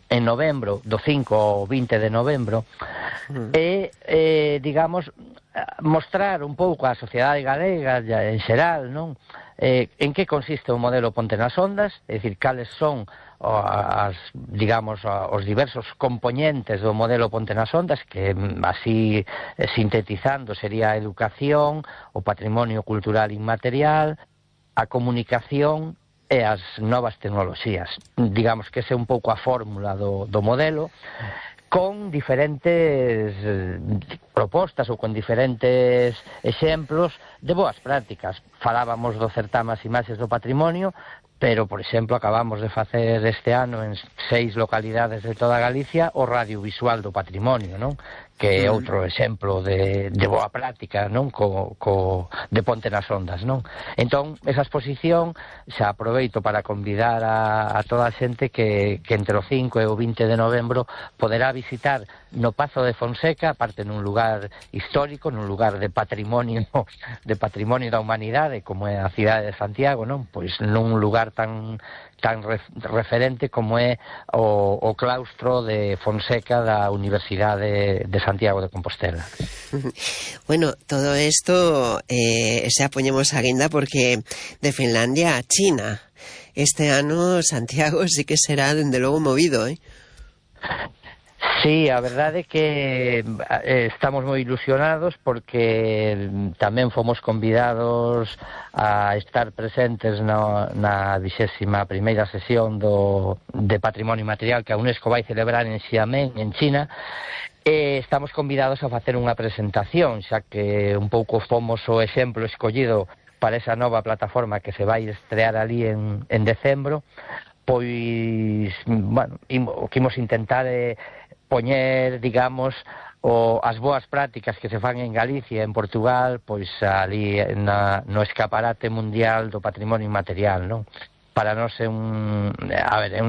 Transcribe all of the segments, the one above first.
en novembro, do 5 ao 20 de novembro, e, digamos, mostrar un pouco á sociedade galega en xeral, non? En que consiste o modelo Ponte nas Ondas, é dicir, cales son os diversos componentes do modelo Ponte nas Ondas, que así sintetizando sería a educación, o patrimonio cultural inmaterial, a comunicación e as novas tecnoloxías. Digamos que esa é un pouco a fórmula do modelo, con diferentes propostas ou con diferentes exemplos de boas prácticas. Falábamos do certame As Imaxes do Patrimonio, pero, por exemplo, acabamos de facer este ano en 6 localidades de toda Galicia o radiovisual do patrimonio, non? Que é outro exemplo de boa práctica, non? De Ponte nas Ondas, non? Entón, esa exposición xa aproveito para convidar a toda a xente que entre o 5 e o 20 de novembro poderá visitar no Pazo de Fonseca, aparte nun lugar histórico, nun lugar de patrimonio da humanidade, como é a cidade de Santiago, non? Pois nun lugar tan referente como é o claustro de Fonseca da Universidade de Santiago de Compostela. Bueno, todo esto xa poñemos a guinda porque de Finlandia a China este ano Santiago sí que será dende logo movido, Sí, a verdade é que estamos moi ilusionados porque tamén fomos convidados a estar presentes na 21ª sesión de Patrimonio Inmaterial que a UNESCO vai celebrar en Xiamen, en China, e estamos convidados a facer unha presentación, xa que un pouco fomos o exemplo escollido para esa nova plataforma que se vai estrear ali en decembro. Pois, bueno, o que imos intentar é poñer, digamos, as boas prácticas que se fan en Galicia e en Portugal, pois ali no escaparate mundial do patrimonio inmaterial, non? Para nós é un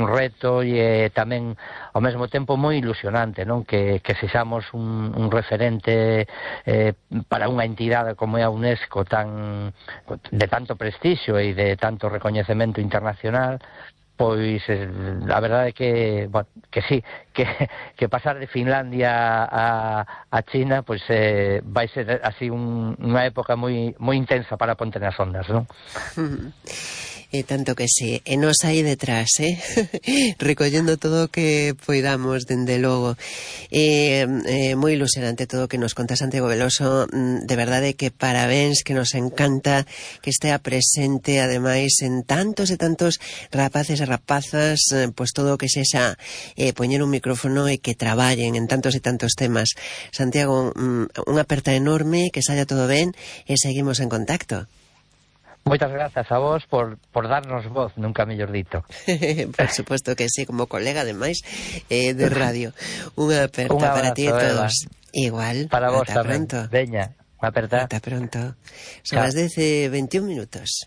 reto e tamén ao mesmo tempo moi ilusionante, non? Que sexamos un referente para unha entidade como é a UNESCO de tanto prestixio e de tanto recoñecemento internacional. Pois a verdade é que sí, que pasar de Finlandia a China pois vai ser así unha época moi intensa para Ponte nas Ondas, non? E tanto que sí, e nos aí detrás, recollendo todo o que poidamos, dende logo. Moi ilusionante todo o que nos conta Santiago Veloso, de verdade que parabéns, que nos encanta que estea presente, ademais, en tantos e tantos rapaces e rapazas, pois todo o que sexa poñer un micrófono e que traballen en tantos e tantos temas. Santiago, unha aperta enorme, que saia todo ben, e seguimos en contacto. Moitas grazas a vos por darnos voz, nunca mellor dito. Por suposto que sí, como colega ademais de radio. Unha aperta para ti e todos. Igual, para vos ata tamén. Pronto. Veña, unha aperta. Ata pronto. Son as 10:21 minutos.